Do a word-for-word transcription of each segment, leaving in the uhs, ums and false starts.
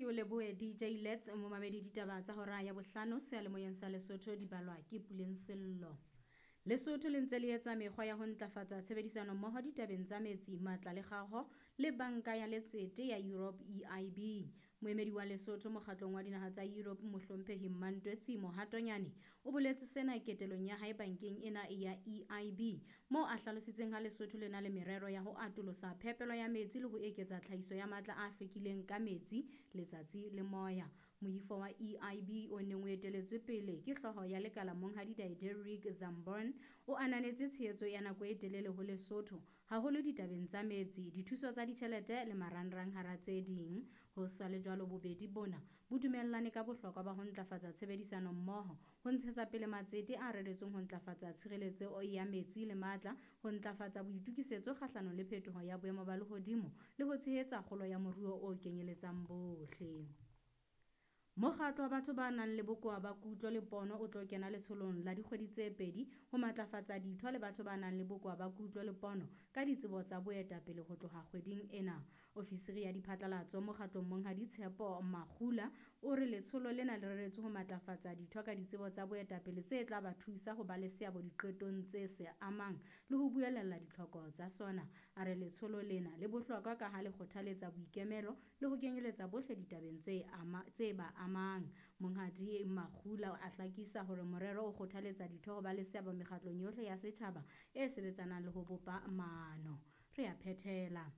Ke o lebohe D J Lets. Momamedi, ditaba tsa hora ya bohlano seyalemoyeng sa Lesotho di balwa ke Puleng Sello. Lesotho le ntse le etsa mekgwa ya ho ntlafatsa tshebedisano mmoho ditabeng tsa metsi, matla le kgaho le Banka ya Letsete ya Europe, E I B. Moemedi wa Lesotho mokgatlong wa dinaha tsa Europe, Mohlomphehi Mmantwetsi Mohatonyane, o boletse sena ketelong ya hae bankeng ena ya E I B, moo a hlalositseng ha Lesotho le na le merero ya ho atolosa phepelo ya metsi le ho eketsa tlhahiso ya matla a hlwekileng ka metsi, letsatsi le moya. Moifo wa E I B o neng o eteletswe pele ke hlooho ya lekala, Monghadi Diederik Zambon, o ananetse tshehetso ya nako e telele ho Lesotho, haholo ditabeng tsa metsi, dithuso tsa ditjhelete le marangrang hara tse ding. Ho sa le jwalo, bobedi bona bo dumellane ka bohlokwa ba ho ntlafatsa tshebedisano mmoho ho ntshetsa pele matsete a reretsweng ho ntlafatsa tshireletso ya metsi le matla, ho ntlafatsa boitokisetso kgahlanong le phetoho ya boemo ba lehodimo le ho tshehetsa kgolo ya moruo o kenyeletsang bohle. Mokgatlo wa batho ba nang le bokowa ba kutlo le pono o tlo kena letsholong la dikgwedi tse pedi ho matlafatsa ditho le batho ba nang le bokowa ba kutlo le pono ka ditsebo tsa boetapele ho tloha kgweding ena. Ofisiri ya diphatlalatso mokgatlong, Monghadi Tshepo Makgula, o re letsholo lena le reretswe ho matlafatsa ditho ka ditsebo tsa boetapele tse tla ba thusa ho ba le seabo diqetong tse se amang le ho buelella ditlhoko tsa sona. A re letsholo lena le bohlokwa ka ha le kgothaletsa boikemelo le ho kenyeletsa bohle ditabeng tse ama tse ba amang. Monghadi Makgula a hlakisa hore morero o kgothaletsa ditho ho ba le seabo mekgatlong yohle ya setjhaba e sebetsanang le ho bopa maano. Re a phethela.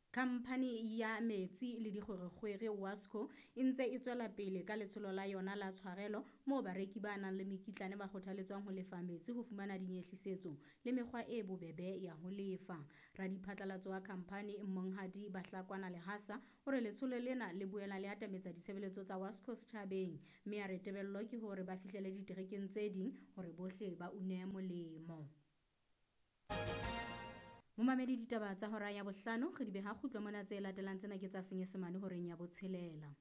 Khamphani ya metsi le dikgwerekgwere, WASCO, e ntse e tswela pele ka letsholo la yona la tshwarelo, moo bareki ba nang le mekitlane ba kgothaletswang ho lefa metsi ho fumana dinyehlisetso le mekgwa e bobebe ya ho lefa. Radiphatlalatso wa khamphani, Monghadi Bahlakwana Lehasa, o re letsholo lena le boela le atametsa ditshebeletso tsa WASCO setjhabeng, mme a re tebello ke hore ba fihlele diterekeng tse ding hore bohle ba une molemo. Momamedi, ditaba tsa hora ya bohlano re di beha kgutlo mona. Tse latelang tsena ke tsa Senyesemane horeng ya botshelela.